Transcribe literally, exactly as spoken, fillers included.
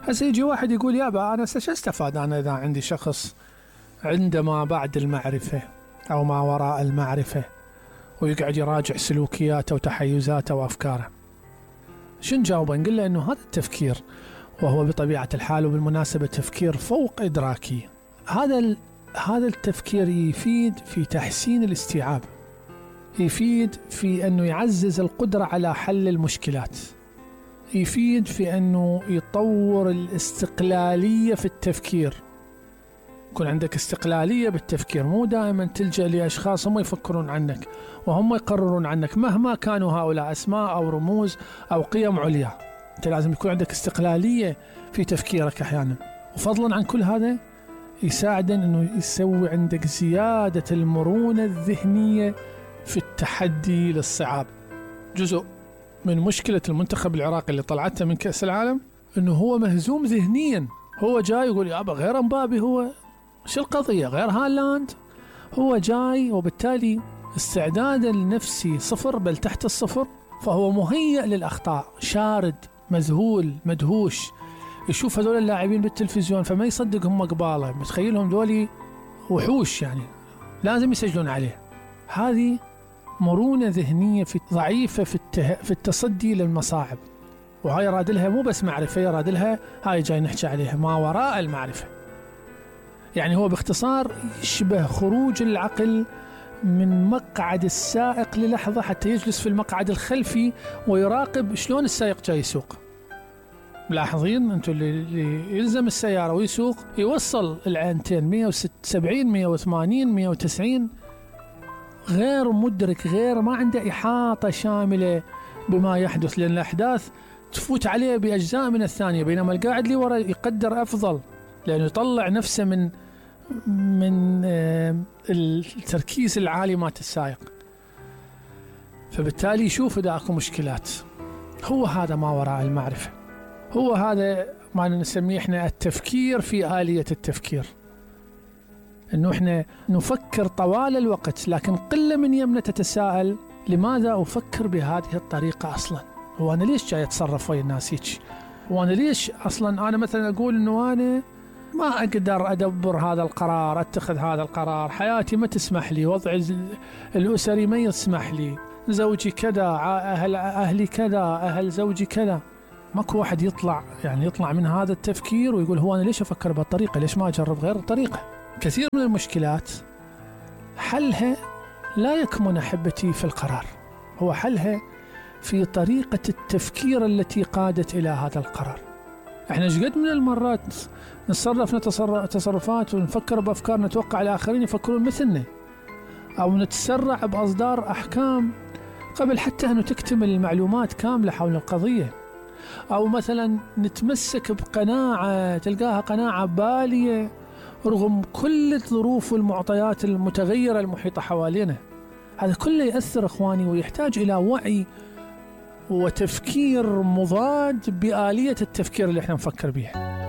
هسه يجي واحد يقول يابا أنا شو استفاد أنا إذا عندي شخص عنده ما بعد المعرفة أو ما وراء المعرفة ويقعد يراجع سلوكياته وتحيزاته وأفكاره؟ شو نجاوبه؟ نقول له إنه هذا التفكير، وهو بطبيعة الحال وبالمناسبة تفكير فوق إدراكي، هذا هذا التفكير يفيد في تحسين الاستيعاب، يفيد في أنه يعزز القدرة على حل المشكلات، يفيد في أنه يطور الاستقلالية في التفكير، يكون عندك استقلالية بالتفكير، مو دائما تلجأ لأشخاص هم يفكرون عنك وهم يقررون عنك مهما كانوا هؤلاء أسماء أو رموز أو قيم عليا. أنت لازم يكون عندك استقلالية في تفكيرك أحيانا. وفضلا عن كل هذا يساعد أنه يسوي عندك زيادة المرونة الذهنية في التحدي للصعاب. جزء من مشكلة المنتخب العراقي اللي طلعته من كأس العالم أنه هو مهزوم ذهنيا، هو جاي يقول يابا غير مبابي، هو شو القضية غير هالاند، هو جاي وبالتالي استعداده النفسي صفر بل تحت الصفر، فهو مهيئ للأخطاء، شارد مذهول مدهوش، يشوف هذول اللاعبين بالتلفزيون فما يصدق هم قباله، متخيلهم دولي وحوش يعني لازم يسجلون عليه. هذه مرونة ذهنية في ضعيفة في, الته... في التصدي للمصاعب، وهاي رادلها مو بس معرفة، رادلها هاي جاي نحكي عليها ما وراء المعرفة. يعني هو باختصار يشبه خروج العقل من مقعد السائق للحظة حتى يجلس في المقعد الخلفي ويراقب شلون السائق جاي يسوق. ملاحظين انتم اللي يلزم السيارة ويسوق يوصل العينتين مية وسبعين مية وثمانين مية وتسعين، غير مدرك، غير ما عنده إحاطة شاملة بما يحدث، لأن الأحداث تفوت عليه بأجزاء من الثانية، بينما القاعد اللي ورا يقدر أفضل لأنه يطلع نفسه من من التركيز العالي مات السائق، فبالتالي يشوف إذا أكو مشكلات. هو هذا ما وراء المعرفة، هو هذا ما نسميه إحنا التفكير في آلية التفكير، إنه إحنا نفكر طوال الوقت لكن قلة من يمنا تتساءل لماذا أفكر بهذه الطريقة أصلا؟ هو أنا ليش جاي أتصرف ويا الناس هيك؟ وأنا ليش أصلا أنا مثلا أقول إنه أنا ما أقدر أدبر هذا القرار، أتخذ هذا القرار، حياتي ما تسمح لي، وضعي الأسري ما يسمح لي، زوجي كذا، أهل أهلي كذا، أهل زوجي كذا. ماكو واحد يطلع يعني يطلع من هذا التفكير ويقول هو أنا ليش أفكر بهالطريقة، ليش ما أجرب غير الطريقة؟ كثير من المشكلات حلها لا يكمن أحبتي في القرار، هو حلها في طريقة التفكير التي قادت إلى هذا القرار. احنا شقد من المرات نتصرف تصرفات ونفكر بأفكار نتوقع الآخرين يفكرون مثلنا، أو نتسرع بأصدار أحكام قبل حتى أن تكتمل المعلومات كاملة حول القضية، أو مثلا نتمسك بقناعة تلقاها قناعة بالية رغم كل الظروف والمعطيات المتغيرة المحيطة حوالينا. هذا كله يأثر إخواني ويحتاج إلى وعي وتفكير مضاد بآلية التفكير اللي احنا نفكر بيها.